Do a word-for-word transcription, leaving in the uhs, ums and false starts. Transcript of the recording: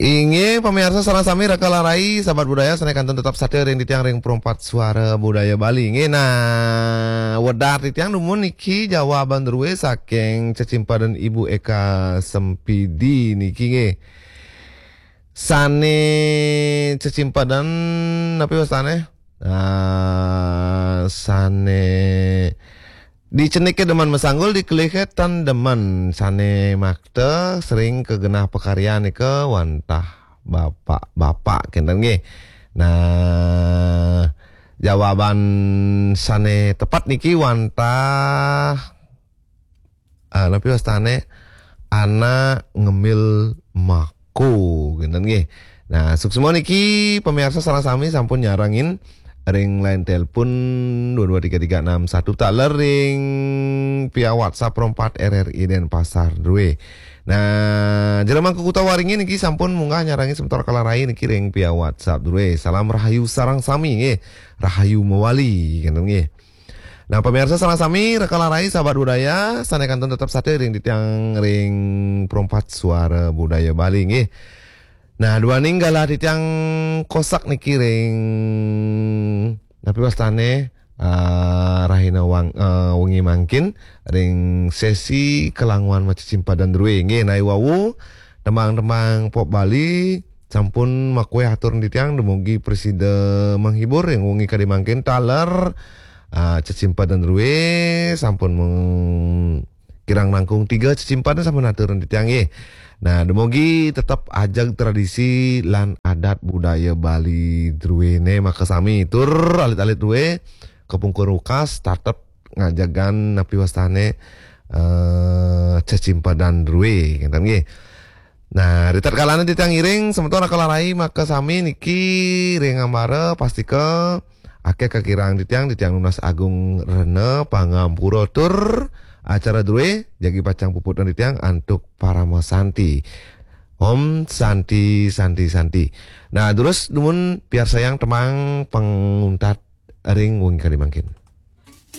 Inggih, pamiarsa sareng sami, raka lan rai, sahabat budaya, sané kantun tetep satia ring titiang ring Perempat Suara Budaya Bali. Inggih, nah, wedar titiang dumun niki jawaban drué saking cecimpedan Ibu Eka Sempidi niki, nggih. Sané cecimpedan, napi wastané? Ah, sané diceniké demen masanggul, dikelihé tan demen. Sané makta sering kagenah pakaryan nika wantah bapak-bapak, kénten nggih. Nah, jawaban sané tepat niki wantah, ah, napi wastané, anak ngemil mako, kénten nggih. Nah, suksma niki pamiarsa sareng sami sampun nyarengin ring line telepon dua dua tiga tiga enam satu taler ring via WhatsApp Perempat R R I Denpasar drué. Nah, Jero Mangku Kuta Waringin niki sampun munggah nyarengin semeton raka lan rai niki ring via WhatsApp drué. Salam rahayu sareng sami nggih. Rahayu mawali, kénten nggih. Nah, pamiarsa sareng sami, raka lan rai, sahabat budaya, sané kantun tetep satia ring titiang ring Perempat Suara Budaya Bali nggih. Nah, duaning galah titiang kosak niki ring, napi wastané, ah, rahina wang-, ah, wengi mangkin ring sesi kalanguan macecimpedan drué nggih. Nah, i wau tembang-tembang pop Bali sampun makuéh atur titiang, dumugi prasida menghibur ring wengi kadi mangkin taler, ah, cecimpedan drué sampun meng-, kirang langkung tiga cecimpedan sampun atur titiang nggih. Nah, dumugi tetep ajeg tradisi lan adat budaya Bali druéné makasami. Tur alit-alit drué kapungkur wekas tetep ngajegang napi wastané, eh, cecimpedan drué, kénten nggih. Nah, ritatkalané titiang ngiring, semeton raka lan rai makasami niki ring ambara, pastika akéh kakirang titiang, titiang nunas agung rena pangampura tur acara drué jagi pacang puputang titiang antuk parama santi. Om Santi, Santi, Santi. Nah, durus dumun piarsayang tembang panguntat ring wengi kadi mangkin.